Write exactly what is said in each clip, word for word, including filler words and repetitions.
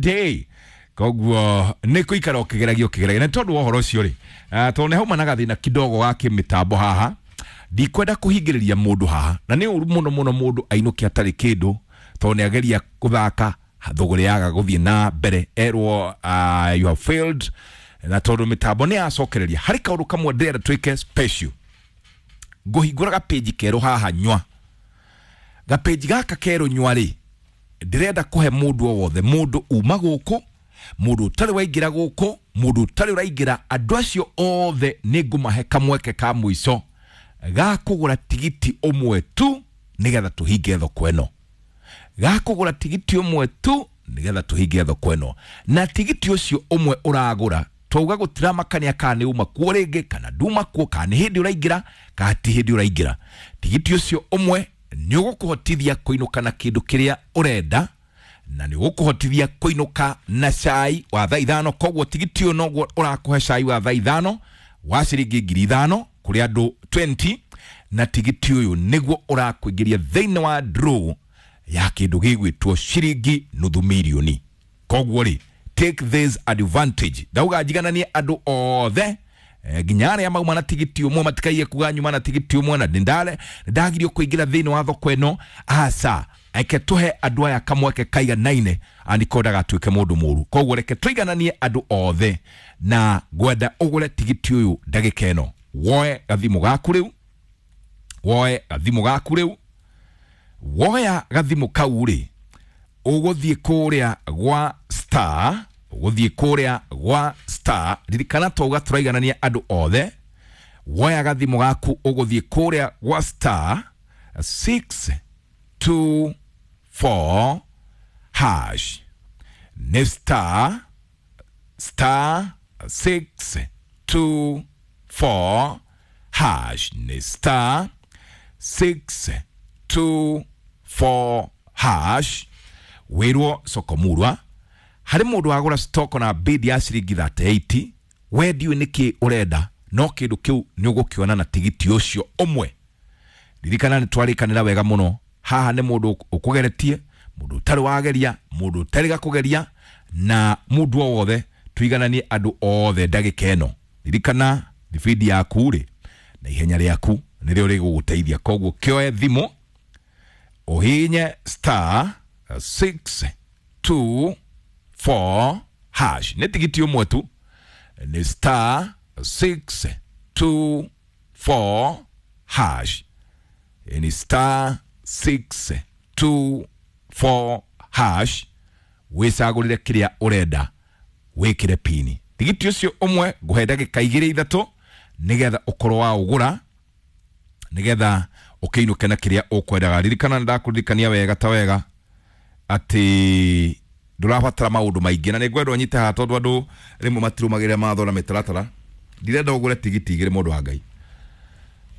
Day. Koguo nĩ kũikara ũkĩgeragia ũkĩgeragia, na tondũ wa ũhoro ũcio rĩ, ah, tondũ nĩ hauma na gathĩna kidogo ga kĩmĩtambo haha, ndikwenda kũhingĩrĩria mũndũ haha, na nĩ ũru mũno mũno mũndũ ainũke atarĩ kĩndũ, tondũ nĩ ageria gũthaka thũgũrĩ yaga gũthiĩ na mbere, erwo uh, you have failed. Na tondũ mĩtambo nĩ yacokereria, harĩ kaũndũ kamwe ndĩrenda twĩke special. Ngũhingũra gapĩnji kerũ haha nywa. Gapĩnji gaka kerũ nywa rĩ, ndĩrenda kũhe mũndũ o wothe, mũndũ uma gũkũ, mũndũ ũtarĩ waingĩra gũkũ, mũndũ ũtarĩ ũraingĩra, andũ acio othe nĩ ngũmahe kamweke ka mũico ga kũgũra tigiti ũmwe tu nĩgetha tũhinge thoko ĩno, ga kũgũra tigiti ũmwe tu nĩgetha tũhinge thoko ĩno. Na tigiti ũcio ũmwe ũragũra, twauga gũtiramakania kana nĩ uma kuo rĩngĩ kana nduma kuo, kana nĩ hĩndĩ ũraingĩra kana ti hĩndĩ ũraingĩra, tigiti ũcio ũmwe nĩ ũgũkũhotithia kũinũka na kĩndũ kĩrĩa ũrenda, na nĩ ũgũkũhotithia kũinũka na cai wa thaa ithano. Koguo tigiti ũyũ noguo ũrakũhe cai wa thaa ithano wa ciringi ngiri ithano kũrĩ andũ mĩrongo ĩrĩ, na tigiti ũyũ nĩguo ũrakũingĩria thĩinĩ wa draw ya kĩndũ gĩgwĩtwo ciringi nuthu mirioni. Koguo rĩ, take this advantage. Ndauga njigananie andũ othe, eh, nginya arĩa mauma na tigiti ũmwe matikaiye kuga nyuma na tigiti ũmwe na ndindare ndagirio kũingĩra thĩinĩ wa thoko ĩno. Aca, reke tũhe andũ aya kamweke kaiganaine, andiko ndagatuĩke mũndũ mũru. Koguo reke tũigananie andũ othe, na ngwenda ũgũre tigiti ũyũ ndagĩka ĩno. Woe gathimũ gaku rĩu, woe gathimũ gaku rĩu. Woya gathimũ kau rĩ, ũgũthiĩ kũrĩa gwa star, ũgũthiĩ kũrĩa gwa star. Ririkana twauga tũraiganania andũ othe. Woya gathimũ gaku, ũgũthiĩ kũrĩa gwa star six two four hash. Nĩ star star six two four hash, nĩ star six two four hash. Wĩrwo sokomurwa harĩ mũndũ wagũra stock na bid ya ciringi mĩrongo ĩtatũ na nyanya. We ndiũĩ nĩkĩ ũrenda, no kĩndũ kĩu nĩ ũgũkĩona na tigiti ũcio ũmwe. Ririkana nĩ twarĩkanĩra wega mũno haha, nĩ mũndũ ũkũgeretie, mũndũ ũtarĩ wageria, mũndũ ũtarĩ gakũgeria, na mũndũ o wothe, tũigananie andũ othe ndagĩka ĩno. Ririkana thibindi yaku rĩ na ihenya rĩaku nĩrĩo rĩgũgũteithia. Koguo kĩoe thimũ, ũhinye star six two four hash. Nĩ tigiti ũmwe tu, nĩ star six two four hash, ni star six two four hash. Wĩcagũrĩre kĩrĩa ũrenda, wĩkĩre pini. Tigiti ũcio ũmwe ngũhe ndagĩka igĩrĩ ithatũ nĩgetha ũkorwo wa ũgũra, nĩgetha ũkĩinũke na kĩrĩa ũkwendaga. Ririkana nĩ ndakũririkania wega ta wega atĩ ndũrabatara maũndũ maingĩ, na nĩ ngwenda ũnyite haha tondũ andũ rĩmwe matirũmagĩrĩra mawatho na mĩtaratara. Ndirenda ũgũre tigiti igĩrĩ, mũndũ wa Ngai,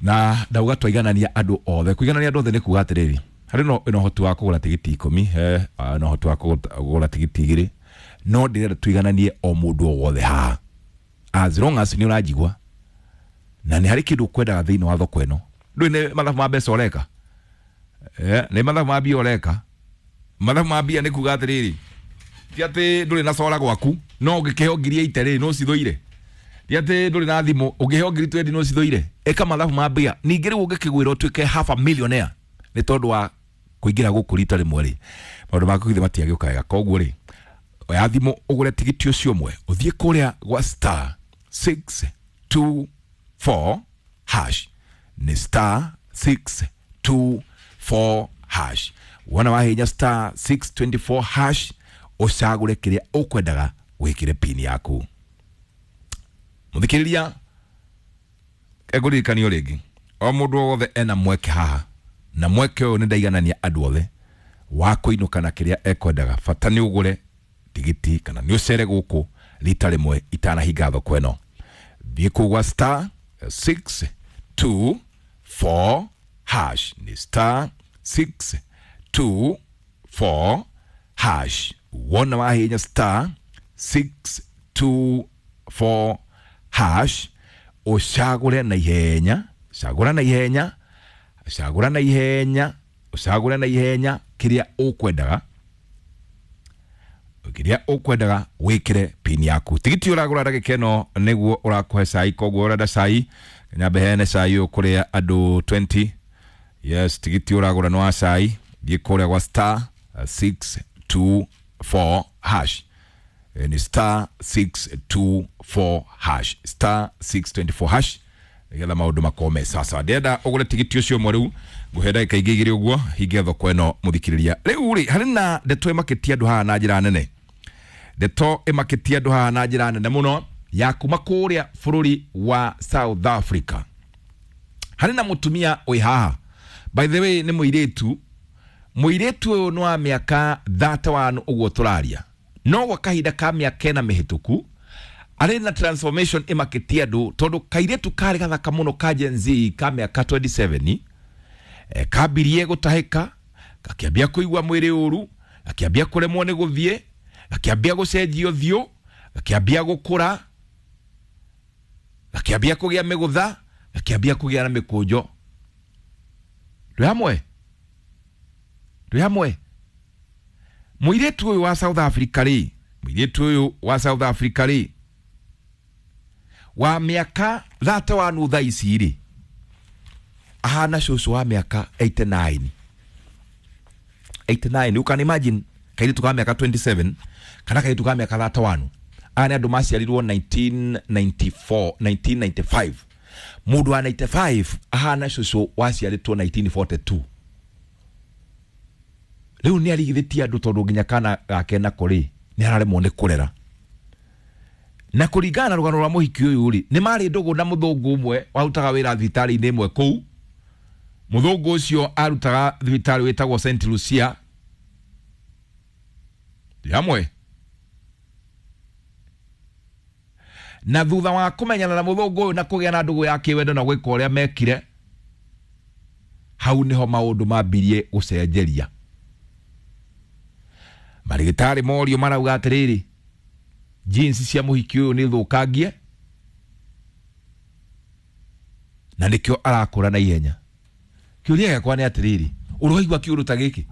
na ndauga twaiganania andũ othe. Kũiganania andũ othe nĩ kuga atĩrĩrĩ, harĩ no ĩna ũhoti wa kũgũra tigiti ikũmi, he na ũhoti wa kũgũra tigiti igĩrĩ, no ndĩrenda tũigananie o mũndũ o wothe haha, as long as nĩ ũranjigua na nĩ harĩ kĩndũ ũkwendaga thĩinĩ wa thoko ĩno. Ndũĩ nĩ mathabu ma mbeca ũreka, eh, nĩ mathabu ma mbia ũreka. Mathabu ma mbia nĩ kuga atĩrĩrĩ, ti atĩ ndũrĩ na cora gwaku, no ũngĩkĩheo ngiri eighty rĩ, no cithũire. Ti atĩ ndũrĩ na thimũ, ũngĩheo ngiri twenty no cithũire. Ĩka mathabu ma mbia. Ningĩ rĩu ũngĩkĩgwĩra ũtuĩke half a millionaire nĩ tondũ wa kũingĩra gũkũ rita rĩmwe rĩ, maũndũ maku githĩ matiagĩũka wega? Koguo rĩ, oya thimũ, ũgũre tigiti ũcio ũmwe, ũthiĩ kũrĩa gwa star six two four hash, nĩ star six two four hash. Wona wahinya star six twenty four hash, ũcagũre kĩrĩa ũkwendaga, wĩkĩre pini yaku. Mũthikĩrĩria, engũririkanio rĩngĩ, o mũndũ o wothe ena mweke haha, na mweke ũyũ nĩ ndaiganania andũ othe wa kũinũka na kĩrĩa ekwendaga. Bata nĩ ũgũre tigiti kana nĩ ũcere gũkũ rita rĩmwe itanahinga thoko ĩno. Thiĩ kũu gwa star six two four hash, nĩ star six two four hash. Wona wahinya star six two four hash, ũcagũre na ihenya, cagũra na ihenya, cagũra na ihenya, ũcagũre na ihenya kĩrĩa ũkwendaga. Kiria ukwendaga wikire pin yaku. Tigiti uragura ndagika ĩno nĩguo ũrakũhe cai, koguo ũrenda cai nyambe heane cai ũyũ kũrĩ andũ twenty. Yes, tigiti ũragũra nĩ wa cai, thiĩ kũrĩa gwa star six two four hash. Ni star six two four hash, star six twenty-four hash nĩgetha maũndũ makorwo me sawa. Ndĩrenda ũgũre tigiti ũcio ũmwe rĩu, ngũhe ndagĩka ingĩ igĩrĩ ũguo hinge thoko ĩno mũthikĩrĩria. Rĩu rĩ, harĩ na ndeto ĩmakĩtie andũ haha na njĩra nene, ndeto ĩmakĩtie andũ haha na njĩra nene mũno ya kuma kũrĩa bũrũri wa South Africa. Harĩ na mũtumia wĩ haha, by the way nĩ mũirĩtu, mũirĩtu ũyũ nĩ wa mĩaka thirty-one ũguo tũraria, no gwa kahinda ka mĩaka ĩna mĩhĩtũku arĩ na transformation ĩmakĩtie andũ, tondũ kairĩtu karĩ gathaka mũno ka Gen Z ka mĩaka twenty-seven, e, kambirie gũtahĩka, gakĩambia kũigua mwĩrĩ ũru, gakĩambia kũremwo nĩ gũthiĩ, gakĩambia gũcenjia ũthiũ, gakĩambia gũkũra, gakĩambia kũgĩa mĩgũtha, gakĩambia kũgĩa na mĩkũnjo. Twĩ hamwe? Twĩ hamwe? Mũirĩtu ũyũ wa South Africa rĩ, mũirĩtu ũyũ wa South Africa rĩ, wa mĩaka thirty-one thaa ici rĩ, ahana cũcũ wa mĩaka eighty-nine. eighty-nine, you can imagine kairĩtu ka mĩaka twenty-seven kana kairĩtu ka mĩaka thirty-one. Aya nĩ andũ maciarirwo nineteen ninety-four, nineteen ninety-five. Mũndũ wa ninety-five ahana cũcũ waciarĩtwo nineteen forty-two. Rĩu nĩ arigithĩtie andũ tondũ nginya kana gake nako rĩ nĩ araremwo nĩ kũrera. Na kũringana na rũgano rwa mũhiki ũyũ rĩ, nĩ marĩ ndũgũ na mũthũngũ ũmwe warutaga wĩra thibitarĩ-inĩ ĩmwe kũu. Mũthũngũ ũcio arutaga thibitarĩ wĩtagwo Saint Lucia. Hamwe na thutha wa kũmenyana na mũthũngũ ũyũ na kũgĩa na ndũgũ ya kĩwendo na gwĩka ũrĩa mekire, hau nĩho maũndũ mambirie gũcenjeria. Marigitari morio marauga atĩrĩrĩ, jeans cia mũhiki ũyũ nĩ thũkangie na nĩkĩo arakũra na ihenya. Kĩũria gĩakwa nĩ atĩrĩrĩ, ũroigua kĩũndũ ta gĩkĩ?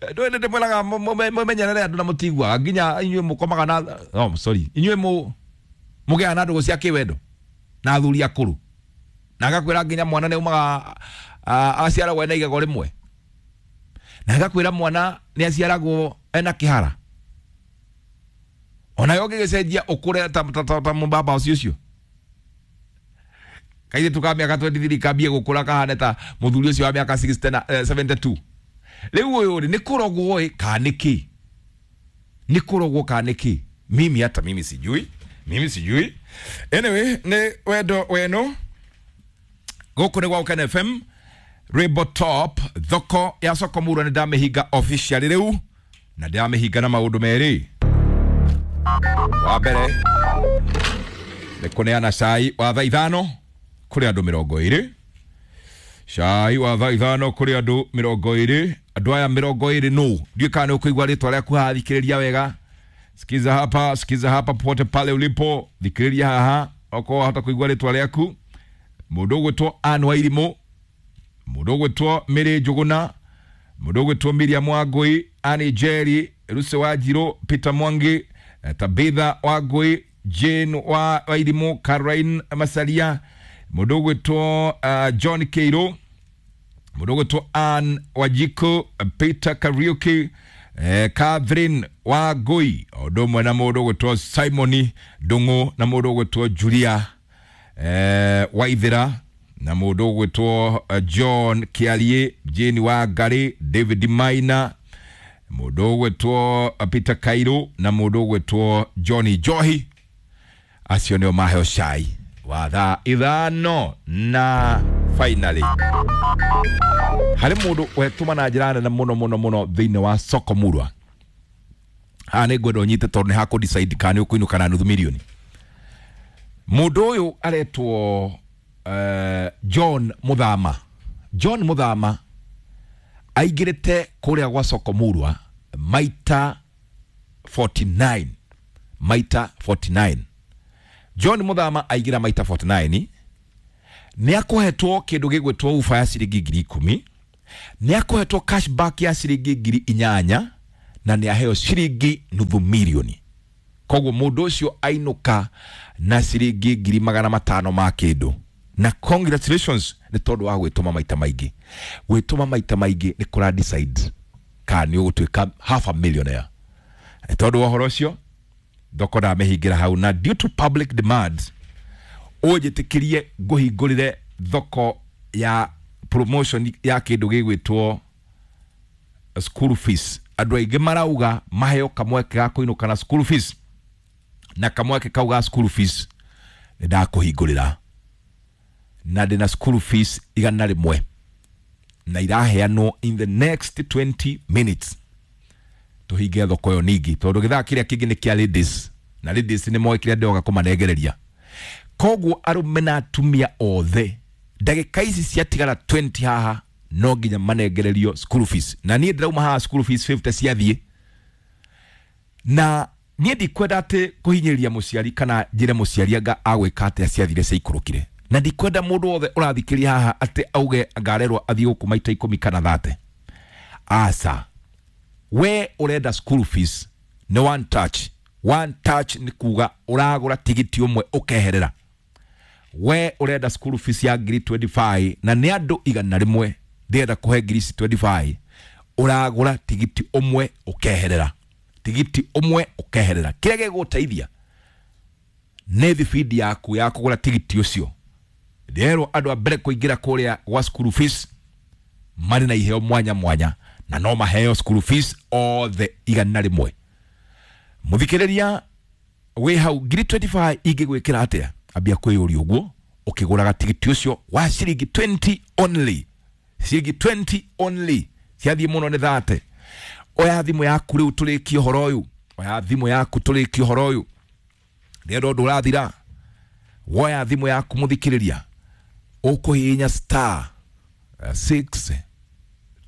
Ndũĩ ndĩmwĩraga mũmenyerere andũ na mũtiguaga, nginya inyuĩ mũkomaga na, oh sorry, inyuĩ mũ mũgĩaga na ndũgũ cia kĩwendo na athuri akũrũ, na agakwĩra nginya mwana nĩ aumaga aciaragwo ena igego rĩmwe, na agakwĩra mwana nĩ aciaragwo ena kĩhara, onayo ũngĩgĩcenjia ũkũre ta ta ta mũbaba ũcio ũcio. Kairĩtu ka mĩaka twenty-three kambie gũkũra kahane ta mũthuri ũcio wa mĩaka sixty na seventy-two. Rĩu ũyũ rĩ, nĩ kũrogwo ĩ kana nĩ kĩ? Nĩ kũrogwo kana nĩ kĩ? Mimi hata mimi sijui, mimi sijui. Anyway, nĩ wendo weno gũkũ nĩ gwa Ũkene F M Rainbow Top, thoko ya soko murwa nĩ ndamĩhinga officially rĩu, na ndamĩhinga na maũndũ merĩ. Wa mbere nĩ kũneana cai wa thaa ithano kũrĩ andũ mĩrongo ĩrĩ, cai wa thaa ithano kũrĩ andũ mĩrongo ĩrĩ. Andũ aya mĩrongo ĩrĩ nũ? Ndiũĩ kana nĩ ũkũigua rĩtwa rĩaku haha, thikĩrĩria wega. Sikiza hapa, sikiza hapa popote pale ulipo, thikĩrĩria haha okorwo wahota kũigua rĩtwa rĩaku. Mũndũ ũgwĩtwo Ann Wairimũ, mũndũ ũgwĩtwo Mary Njũgũna, mũndũ ũgwĩtwo Miriam Wangũi, Annie Jerry, Lucy Wanjirũ, Peter Mwangi, Tabitha Wangũi, Jane wa Wairimũ, Caroline Masaria, mũndũ ũgwĩtwo uh, John Keiro, mũndũ ũgwĩtwo Ann Wajiko, Peter Kariuki, eh, Catherine Wangũi, ũndũ ũmwe na mũndũ ũgwĩtwo Simon Ndung'u, na mũndũ ũgwĩtwo Julia eh, Waithera, na mũndũ ũgwĩtwo John Kiarie, Jane Wangari, David Maina, mũndũ ũgwĩtwo Peter Kairo, na mũndũ ũgwĩtwo Johnny Johi. Acio nĩo maheo cai wa thaa ithano. Na finally harĩ mũndũ wetũma na njĩra nene mũno mũno mũno thĩinĩ wa soko murwa. Haha nĩ ngwenda ũnyite tondũ nĩ hakũ decide kana nĩ ũkũinũka na nuthu mirioni. Mũndũ ũyũ aretwo uh, John Muthama. John Muthama aingĩrĩte kũrĩa gwa soko murwa maita forty-nine, maita forty-nine. John Muthama aingĩra maita forty-nine, nĩ akũhetwo kĩndũ gĩgwĩtwo ufa ya ciringi ngiri ikũmi, nĩ akũhetwo cashback ya ciringi ngiri inyanya, na nĩ aheo ciringi nuthu mirioni. Koguo mũndũ ũcio ainũka na ciringi ngiri magana matano ma kĩndũ. Na congratulations nĩ tondũ wa gwĩtũma maita maingĩ. Gwĩtũma maita maingĩ nĩ kũra decide kana nĩ ũgũtuĩka half a millionaire. Nĩ tondũ wa ũhoro ũcio thoko ndamĩhingĩra hau, na due to public demand ũnjĩtĩkĩrie ngũhingũrĩre thoko ya promotion ya kĩndũ gĩgwĩtwo school fees. Andũ aingĩ marauga maheo kamweke ga kũinũka na school fees, na kamweke kau ga school fees nĩ ndakũhingũrĩra, na ndĩna school fees igana rĩmwe na iraheanwo in the next twenty minutes. Tũhinge thoko ĩyo ningĩ tondũ gĩthaa kĩrĩa kĩngĩ nĩ kĩa ladies, na ladies nĩ moĩ kĩrĩa ndĩroga kũmanengereria. Koguo arũme na atumia othe ndagĩka ici ciatigara twenty haha no nginya manengererio school fees, na niĩ ndĩrauma haha school fees fifty ciathiĩ. Na niĩ ndikwenda atĩ kũhinyĩrĩria mũciari kana njĩre mũciari anga agwĩka atĩa ciathire ciaikũrũkire, na ndikwenda mũndũ wothe ũrathikĩria haha atĩ auge ngarerwo athiĩ gũkũ maita ikũmi kana thate. Aca, we ũrenda school fees nĩ one touch. One touch nĩ kuga ũragũra tigiti ũmwe ũkeherera. We ũrenda school fees ya ngiri twenty-five na nĩ andũ igana rĩmwe ndĩrenda kũhe ngiri ici twenty-five, ũragũra tigiti ũmwe ũkeherera, tigiti ũmwe ũkeherera. Kĩrĩa gĩgũteithia nĩ thibindi yaku ya kũgũra tigiti ũcio. Ndĩrerwo andũ a mbere kũingĩra kũrĩa gwa school fees marĩ na iheo mwanya mwanya, na no maheo school fees othe igana rĩmwe. Mũthikĩrĩria wĩ hau, ngiri twenty-five ingĩgwĩkĩra atĩa? Ambia kwĩyũria ũguo ũkĩgũraga tigiti ũcio wa ciringi twenty only. Ciringi twenty only, ciathiĩ mũno nĩ thate. Oya thimũ yaku rĩu tũrĩkie ũhoro ũyũ, oya thimũ yaku tũrĩkie ũhoro ũyũ, ndĩrenda ũndũ ũrathira. Woya thimũ yaku mũthikĩrĩria, ũkũhihinya star six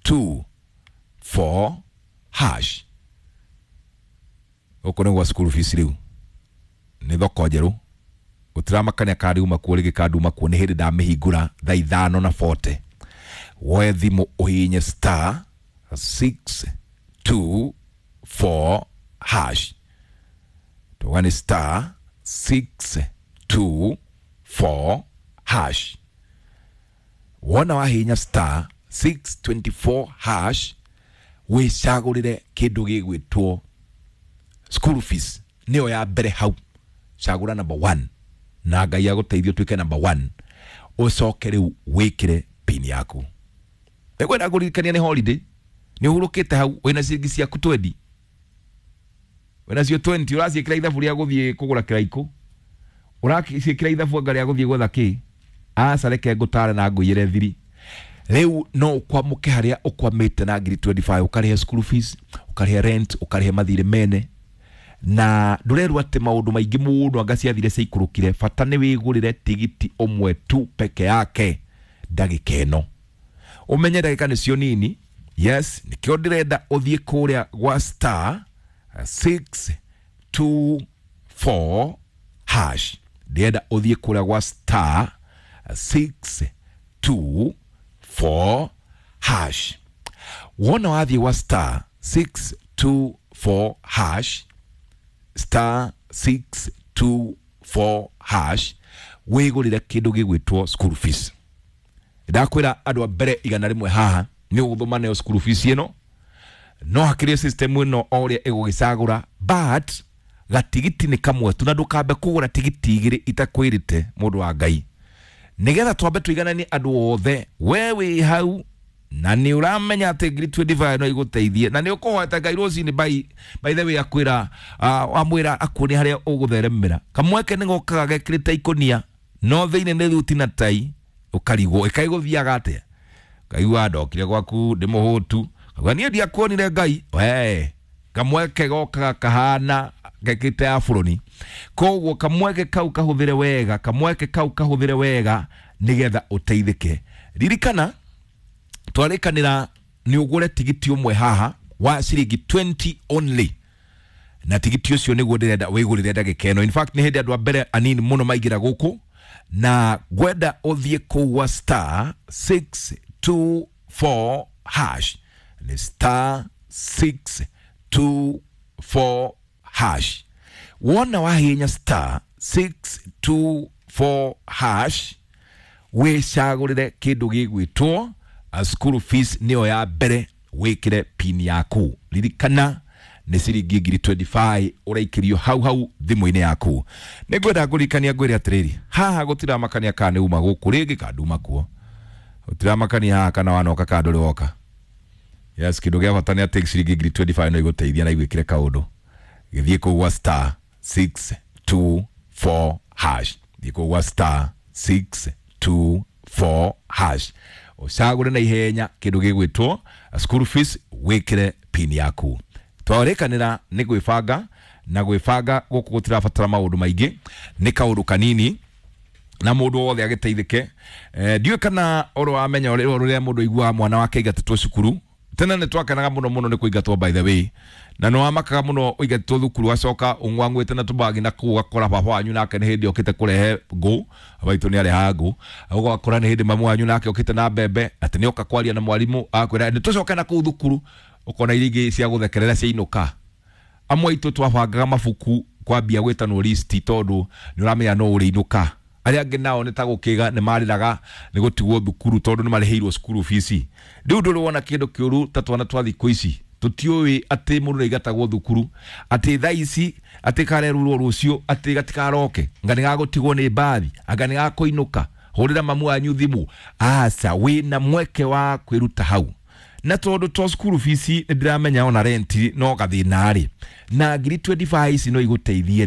two four hash. Gũkũ nĩ gwa school fees rĩu, nĩ thoko njerũ, gũtiramakania kana kuo rĩngĩ kana nduma kuo, nĩ hĩndĩ ndamĩhingũra thaa ithano na forty. Woe thimũ ũhihinye star six two four hash. Tuga nĩ star six two four hash. Wona wahihinya star six twenty-four hash, wĩcagũrĩre kĩndũ gĩgwĩtwo school fees, nĩyo ya mbere hau. Cagũra number one na Ngai agũteithie ũtuĩke number one, ũcoke rĩu wĩkĩre pin yaku. Nĩngwenda kũririkania nĩ holiday, nĩ ũhurũkĩte hau wĩna ciringi ciaku twenty, wĩna cio twenty ũraciĩkĩra ithabu rĩa gũthiĩ kũgũra kĩraikũ, ũraciĩkĩra ithabu anga rĩa gũthiĩ gwetha kĩ. Aca, reke ngũtare na ngũiyĩre thiri. Rĩu no ũkwamũke harĩa ũkwamĩte na ngiri twenty-five, ũkarĩhe school fees, ũkarĩhe rent, ũkarĩhe mathirĩ mene, na ndũrerwo atĩ maũndũ maingĩ mũno anga ciathire ciaikũrũkire. Bata nĩ wĩgũrĩre tigiti ũmwe tu peke yake ndagĩka ĩno. Ũmenye ndagĩka nĩcio nini. Yes, nĩkĩo ndĩrenda ũthiĩ kũrĩa gwa star six two four hash. Ndĩrenda ũthiĩ kũrĩa gwa star six two four hash. Wona wathiĩ gwa star six two four hash, star six two four hash, wĩgũrĩre kĩndũ gĩgwĩtwo school fees. Ndakwĩra andũ a mbere igana rĩmwe haha nĩ ũgũthoma nayo school fees ĩno, no hakĩrĩ system ĩno o ũrĩa ĩgũgĩcagũra, but gatigiti nĩ kamwe tu, na ndũkambe kũgũra tigiti igĩrĩ itakwĩrĩte mũndũ wa Ngai, nĩgetha twambe tũigananie andũ othe. We wĩ hau na nĩ ũramenya atĩ ngiri twenty-five no igũteithie, na nĩ ũkũhota Ngai rũcinĩ by by the way akwĩra amwĩra akuonie harĩa ũgũtheremera. Kamweke nĩ gokaga gekĩrĩte ikũnia no thĩinĩ nĩ thuti na tai, ũkarigwo ĩkaigũthiaga atĩa. Kaigua ndokire gwaku ndĩ mũhũtu, kauga niĩ ndiakuonire Ngai. We kamweke gokaga kahana gekĩte aburoni. Koguo kamweke kau kahũthĩre wega, kamweke kau kahũthĩre wega nĩgetha ũteithĩke. Ririkana twarĩkanĩra nĩ ũgũre tigiti ũmwe haha wa ciringi twenty only, na tigiti ũcio nĩguo ndĩrenda wĩgũrĩre ndagĩka ĩno. In fact nĩ hĩndĩ andũ a mbere anini mũno maingĩra gũkũ, na ngwenda ũthiĩ kũu gwa star six two four hash, nĩ star six two four hash. Wona wahihinya star six two four hash, wicagurire kindu gigwitwo school fees, niyo ya mbere, wikire pin yaku. Ririkana nĩ ciringi ngiri mĩrongo ĩĩrĩ na ithano ũraikirio hau hau thimũ-inĩ yaku. Nĩ ngwenda ngũririkania ngwĩre atĩrĩrĩ, haha gũtiramakania kana nĩ uma gũkũ rĩngĩ kana nduma kuo, gũtiramakania haha kana wanoka kana ndũrĩ woka. Yes, kĩndũ gĩa bata nĩ atĩ ciringi ngiri mĩrongo ĩĩrĩ na ithano no igũteithia na igwĩkĩre kaũndũ. Gĩthiĩ kũu gwa star six two four hash, thiĩ kũu gwa star six two four hash, ũcagũre na ihenya kĩndũ gĩgwĩtwo school fees, wĩkĩre pin yaku. Twarĩkanĩra nĩ gwĩbanga, na gwĩbanga gũkũ gũtirabatara maũndũ maingĩ, nĩ kaũndũ kanini na mũndũ wothe agĩteithĩke. eh, ndiũĩ kana ũrĩ wamenya ũrĩa rĩrĩa mũndũ aiguaga mwana wake aingatĩtwo cukuru. Tene nĩ twakenaga mũno mũno nĩ kũingatwo, by the way, na nĩ wamakaga mũno ũingatĩtwo thukuru, wacoka ũng'wang'wĩte na tũbagi na kũu, ũgakora baba wanyu nake nĩ hĩndĩ okĩte kũrehe ngũ, baitũ nĩ arehaga ngũ, ũgakora nĩ hĩndĩ mamu wanyu nake okĩte na mbembe, atĩ nĩ oka kwaria na mwarimũ akwĩra nĩ tũcoke na kũu thukuru, ũkona iria ingĩ cia gũthekerera ciainũka. Amwe aitũ twabangaga mabuku kwambia gwĩtanwo listi tondũ nĩ ũramenya no ũrĩinũka. Arĩa angĩ nao nĩ ta gũkĩga nĩ marĩraga nĩ gũtigwo thukuru tondũ nĩ marĩhĩirwo cukuru fees. Rĩu ndũrĩ wona kĩndũ kĩũru ta twana twa thikũ ici tũtiũĩ atĩ mũndũ nĩaigatagwo thukuru, atĩ thaa ici atĩ karerurwo rũciũ atĩ gatikaroke, anga nĩ gagũtigwo nĩ mbathi, anga nĩ gakũinũka, hũrĩra mamu wanyu thimũ. Aca, wĩna mweke wa kwĩruta hau, na tondũ to cukuru fees nĩ ndĩramenya ona rent no gathĩna rĩ, na ngiri mĩrongo ĩĩrĩ na ithano ici no igũteithie.